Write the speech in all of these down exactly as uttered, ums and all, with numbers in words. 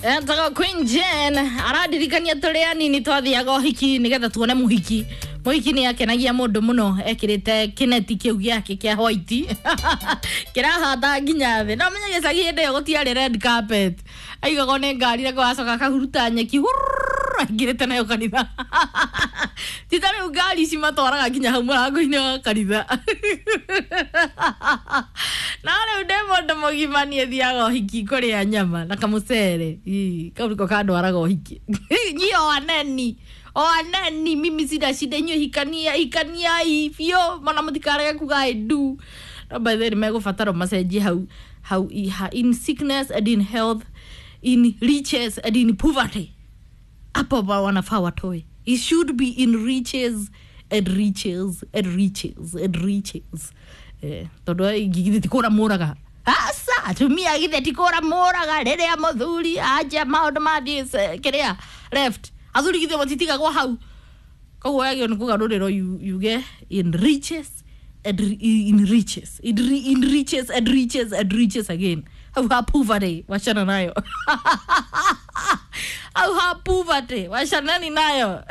Etagwo Queen Jane aradirikania tũrĩ anini twathiaga ũhiki nĩgetha tuone mũhiki. Mũhiki nĩ akenagia mũndũ mũno ekĩrĩte kĩneti kĩu gĩake kĩa white kĩrahata nginya thĩ. No menye gĩcagi hĩndĩ ĩyo gũtiarĩ red carpet, aigagwo nĩ ngari na gwacoka akahuruta nyeki hurr, aingĩrĩte nayo kanitha. Ti ta rĩu ngari ici matwaraga nginya hau mũrango-inĩ wa kanitha. No rĩu ndĩ mũndũ mũgima niĩ thiaga ũhiki kũrĩa nyama na kamũcere. Ii, kau nĩko kandwaraga ũhiki. Nyi o aneni o aneni, mimi sina shida, inyuĩ hikania hikaniai biũ mana mũtikarege kuga I do. No by the way nĩmegũbatara macenjie hau hau i- in sickness and in health, in riches and in poverty, hapo ba wanafaa watoe. It should be in riches and riches and riches and riches. Eh, tondu githĩ ti kũra mũraga aca atumia githĩ ti kũra mũraga rĩrĩa mũthuri anja maũndũ mathiĩ se- kĩrĩa left athuri githĩ matitigagwo hau. Koguo yagĩrĩirwo nĩ kũgarũrĩrwo yu- yuge in riches and ri- in riches in, ri- in riches and riches and riches again. Hau ha poverty wachana nayo, au ha poverty wachanani nayo.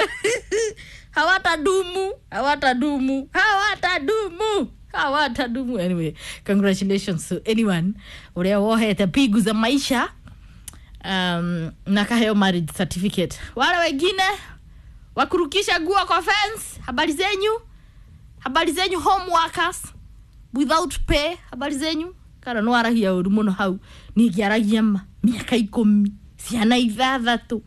Hawatadumu, hawatadumu, hawatadumu, hawatadumu. Anyway, congratulations to anyone uria wohete pigu za maisha um, na kaheo marriage certificate. Wale wengine wakurukisha nguo kwa fence, habari zenyu, habari zenyu home workers without pay, habari zenyu. Kana no aragia ũru mũno hau ningĩaragia ma mĩaka ikũmi ciana ithathatũ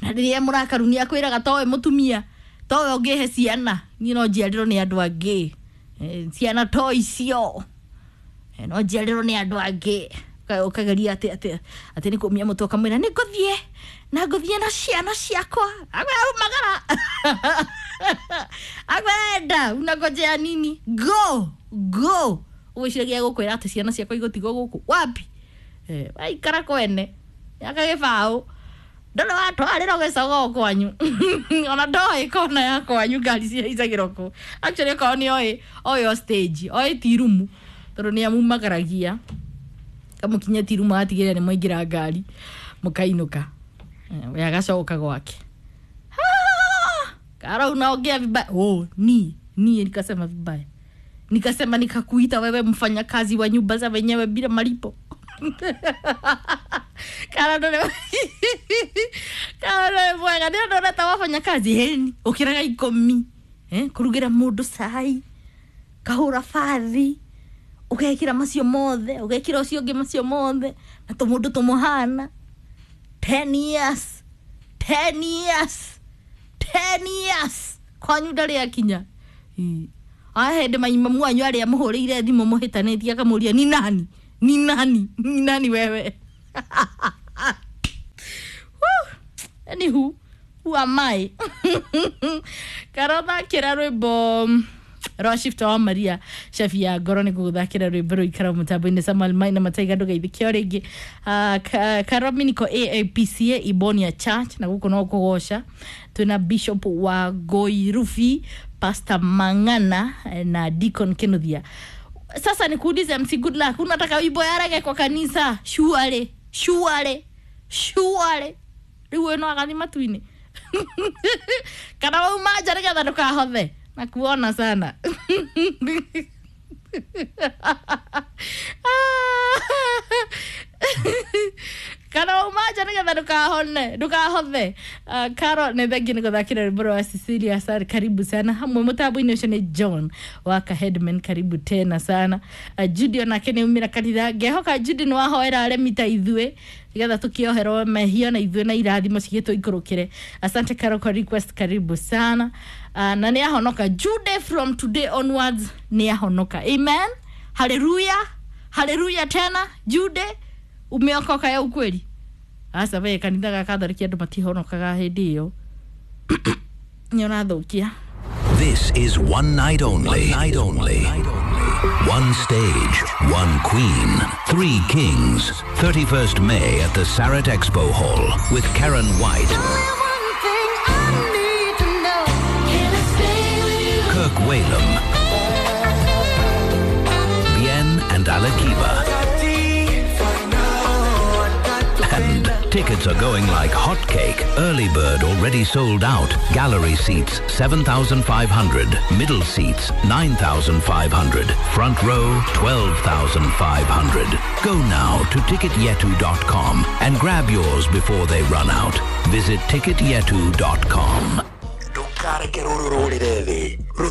na rĩrĩa mũrakaru nĩ akwĩraga towe mũtumia towe ũngĩhe ciana niĩ no njiarĩrwo nĩ andũ angĩ. Eh, ciana to icio. Eh, no njiarĩrwo nĩ andũ angĩ. Ũka- ũkageria atĩ atĩ atĩ nĩ kũmia mũtwe ũkamwĩra nĩ ngũthiĩ na ngũthiĩ na ciana ciakwa akwĩra umagara akwenda unangojea nini, go go. Ũgwĩciragia gũkwĩra atĩ ciana ciakwa igũtigwo gũkũ wapi. Eh, waikara kwene yaka gĩbaũ ndũrĩ watwarĩrwo gĩcogoo kwanyu ona ndoĩ kona ya kwanyu ngari cihaicagĩrwo kũ. Actually okorwo nĩ oĩ oĩ o stage oĩ ti rumu tondũ nĩ amumagaragia kamũkinyia ti rumu agatigĩrĩra nĩ mwaingĩra ngari mũkainũka. Eh, we agacoka gwake. Ah, Kara unaongea vibaya. Oh, ni ni nikasema vibaya, nikasema nikakuita wewe mfanyakazi wa nyumba za wenyewe bila malipo. Kara ndore Kara ndore mwega nĩ ndona ta wafanyakazi heni ũkĩraga ikũmi eh kũrugĩra mũndũ cai kahũra bathi ũgekĩra macio mothe ũgekĩra ũcio ũngĩ macio mothe na tũmũndũ tũmũhana ten years, ten years, ten years kwanyu ndarĩ akinya. Ĩ. Aya hĩndĩ maimamu wanyu arĩa mũhũrĩire thimũ mũhĩtanĩtie akamũria ni nani ni nani ni nani wewe. Whew. Anywho, who am I? Karothakĩra rwĩmbo rwa Shifter wa Maria Shafi ya ngoro nĩ gũgũthakĩra rwĩmbo rũikara mũtambo-inĩ Samuel Maina Mataiga ndũgeithĩke o rĩngĩ. Ah, Ka- Karominiko A A P C A Ibonia Church na gũkũ no kũgoca twĩna Bishop wa Goirufi Pastor Mang'ana eh, na Deacon Kinuthia. Sasa nikuulize M C Good Luck, unataka wimbo ya reggae kwa kanisa? Shuare shuare shuare rĩu ũyũ no agathi matu-inĩ kana wauma nja nĩgetha ndũkahothe na kuona sana. Kana wauma nja nĩgetha ndũkahone ndũkahothe. Uh, Karo nĩ thengi nĩ gũthakĩra rwĩmbo rwa Cecilia Sar, karibu sana hamwe mũtambo-inĩ ũcio nĩ John waka Headman, karibu tena sana. uh, Judy onake nĩ umĩra kanitha ngehoka Judy nĩ wahoera aremi ta ithuĩ nĩgetha tũkĩoherwo mehia na ithuĩ na irathimo cigĩtũikũrũkĩre. Asante Karo kwa request, karibu sana. uh, na nĩ ahonoka Jude, from today onwards nĩ ahonoka. Amen, haleluya, haleluya tena. Jude umeokoka ya ukweli. Aca we kanitha ga Katholiki andũ matihonokaga hĩndĩ ĩyo nĩ ũrathũkia. This is one night only. One night only. One stage, one queen, three kings. thirty-first May at the Sarat Expo Hall with Karen White, Only one thing I need to know. Can I stay with you? Kirk Whalum, Bien and Alakiba, and Tickets are going like hotcake. Early bird already sold out. Gallery seats seven thousand five hundred. Middle seats nine thousand five hundred. Front row twelve thousand five hundred. Go now to ticket yetu dot com and grab yours before they run out. Visit ticket yetu dot com. Ndukareke rũrũ rũrĩre thĩ.